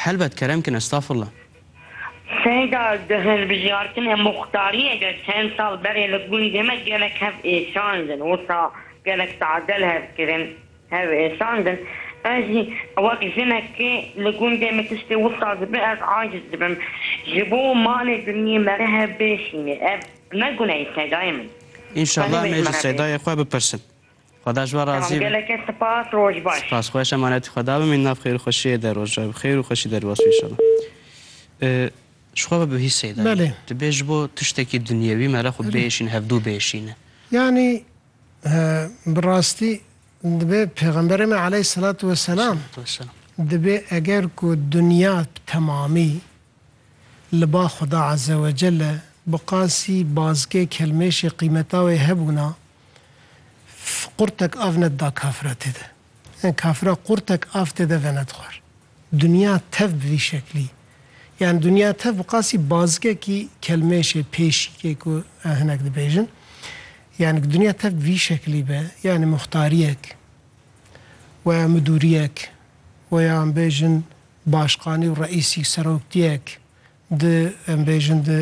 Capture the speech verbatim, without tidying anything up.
Helbet, kerem kin, estağfurullah. Seyda, di hilbijartinê muxtariyê de çend sal berê li gundê me gelek hev êşandin. Wisa gelek tadel hev kirin, hev êşandin. Ez jî wek jinekê li gundê me tiştê wisa dibe, ez aciz dibim. Ji bo malê dinyê me re hev bêşîne. Ev ne guneyê Seydayê min. Înşallah Xwedê em ê ji bêjme Seydayê xwe bipirsin. Xweda ji we razî be. Tamam, gelek spas, roj baş. Spas, xweş, emanetî Xweda bimîn, nav xêr û xweşiyê de, roja bi xêr û xweşî derbas be înşallah. Ee, ji xwe ve bihî Seyda. Belê. Dibê ji bo tiştekî dinyewî me re xwe Belê. bêşîn, hevdû bêşîne. Yani, e, bi rastî dibê Pêxemberê me aleyhisselatu vesselam Vesselam. dibê eger ku dinya bi temamî li ba Xuda Azze ve Celle bi qasî bazikê kelmêşê qîmeta wê hebûna, f-, qurtek av nedida kafira tê de. Yani kafira qurtek av tê de venedixwar. Dinya tev bi vî şeklî. Yani dinya tev bi qasî bazikekî kelmêşê pêşîkê ku, e, hinek dibêjin. Yani dinya tev bi vî şeklî be. Yani muxtariyek, weya midûriyek, weya em bêjin başqanî û reîsî seroktiyek, di, em bêjin, di